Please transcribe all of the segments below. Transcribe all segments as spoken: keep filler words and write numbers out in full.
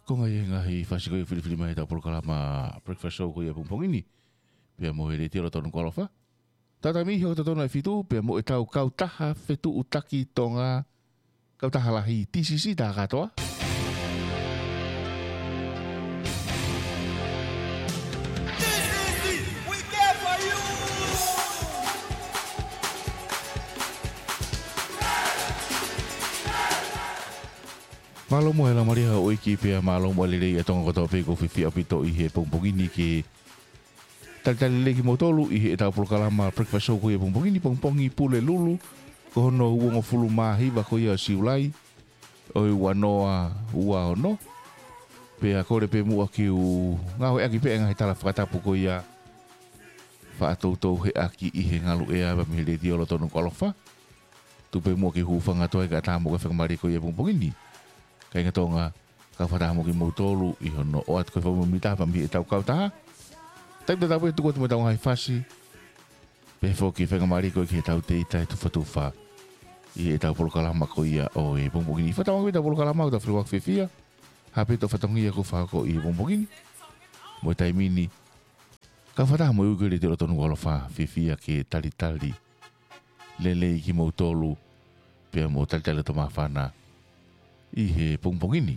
Ko e ngaahi fasi ko ia ʻoku filifili mai ʻetau polokalama Breakfast Show ko ia ʻapongipongi ni. Pea mo e Letiō Lotonu ko Alofa. Tau taimi ʻi he ʻoku totonu ai fitu, pea mo ʻetau kautaha fetuʻutaki Tonga, kautaha lahi T C C tā kātoa. Mālō muʻa e laumālie ʻa houʻeiki pea mālō muʻa e lelei ʻa Tonga kotoa pē ʻoku fifia ʻaupito ʻi he pongipongi ni ke talitali lelei kimoutolu ʻi heʻetau polokalama Breakfast Show ko ia ʻapongipongi ni, pongipongi Pulelulu, ko hono uongofulu mā hiva ko ia ʻo Siulai, ʻo e ua noa ua ono. Pea kole pē muʻa ke u ngāueʻaki pē ʻa e ngaahi tala fakatapu ko ia faʻa toutou heʻaki ʻi he ngalu ʻea mei he Letiō Lotonu ko Alofa. Tuku pē muʻa ke u hūfanga atu ai kae ʻatā mo e faingamālie ko ia ʻapongipongi ni. Kāinga Tonga, kau fakataha mo kimoutolu ʻi hono ʻoatu ko e fakamoʻoni taha mei heʻetau kautaha. Taimi tatau pē tuku atu mo ʻetau ngaahi fasi. Pehē foki e faingamālie ko ia ki heʻetau teita e tufatufa ʻi heʻetau polokalama ko ia ʻapongipongi ni. Fakatauange pē ʻetau polokalama ʻoku tau fili ʻo fiefia. Hā pē ʻetau fatongia ʻoku fakahoko ʻapongipongi ni. Mo e taimi ni, kau fakataha mo e ui ko e Letiō Lotonu ko Alofa, fiefia ke talitali lelei kimoutolu, pea mo talitali ʻa e māfana ʻi he pongipongi ni.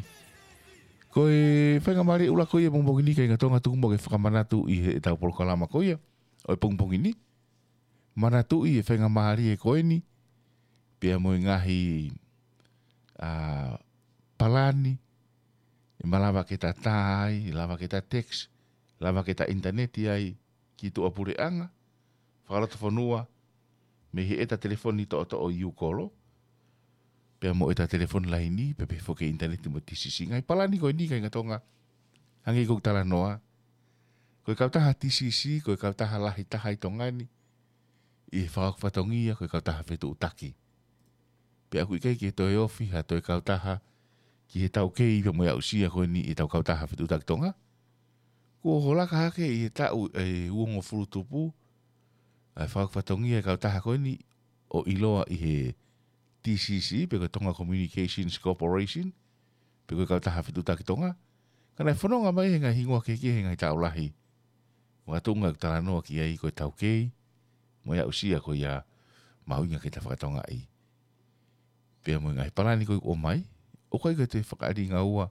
Ko e faingamālie ʻuluaki ko ia ʻapongipongi ni, kāinga Tonga, tuku muʻa ke fakamanatu ʻi heʻetau polokalama ko ia ʻapongipongi ni. Manatuʻi e faingamālie ko eni, pea mo e ngaahi, ā, palani, ʻe malava ke ta tā ai, lava ke ta text, lava ke ta ʻinitaneti ai ki tuʻapuleʻanga, fakalotofonua, mei heʻeta telefoni toʻotoʻo ʻi ʻū kolo, pea mo ʻeta telefoni laini, pea pehē foki e ʻinitaneti mo e T C C. Ngaahi palani ko eni, kāinga Tonga, hangē ko ʻeku talanoa, ko e kautaha T C C, ko e kautaha lahi taha ʻi Tonga ni, ʻi he fakahoko fatongia, ko e kautaha fetuʻutaki. Pea ʻoku ʻikai ke toe ofi ha toe kautaha ki he taukei pea mo e aʻusia ko eni ʻetau kautaha fetuʻutaki Tonga. Kuo laka hake ʻi he taʻu ʻe uongofulu tupu ʻa e fakahoko fatongia e kautaha ko eni ʻo ʻiloa ʻi he T C C, pe ko e Tonga Communications Corporation, pe ko e kautaha fetuʻutaki Tonga. Ka naʻe fononga mai he ngaahi hingoa kehekehe he ngaahi taʻu lahi. Makatuʻunga ʻeku talanoa ki ai ko e taukei mo e aʻusia ko ia mahuʻinga ke ta fakatokangaʻi. Pea mo e ngaahi palani ko ia ʻoku ʻomai, ʻoku ʻikai ko e toe fakaʻaliʻali ngaua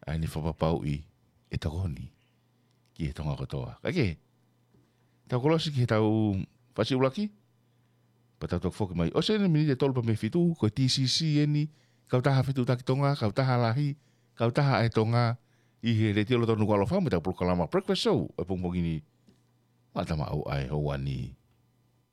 ʻa ʻene fakapapauʻi e tokoni ki he Tonga kotoa. Kae kehe, tau kolosi ki heʻetau fasi ʻuluaki, pea tau toki foki mai. ʻOsi eni miniti ʻe tolu pea mei he fitu, ko e T C C eni, kautaha fetuʻutaki Tonga, kautaha lahi, kautaha ʻa e Tonga, ʻi he Letiō Lotonu ko Alofa mo ʻetau polokalama Breakfast Show ʻapongipongi ni. Mata maʻu ai hoani.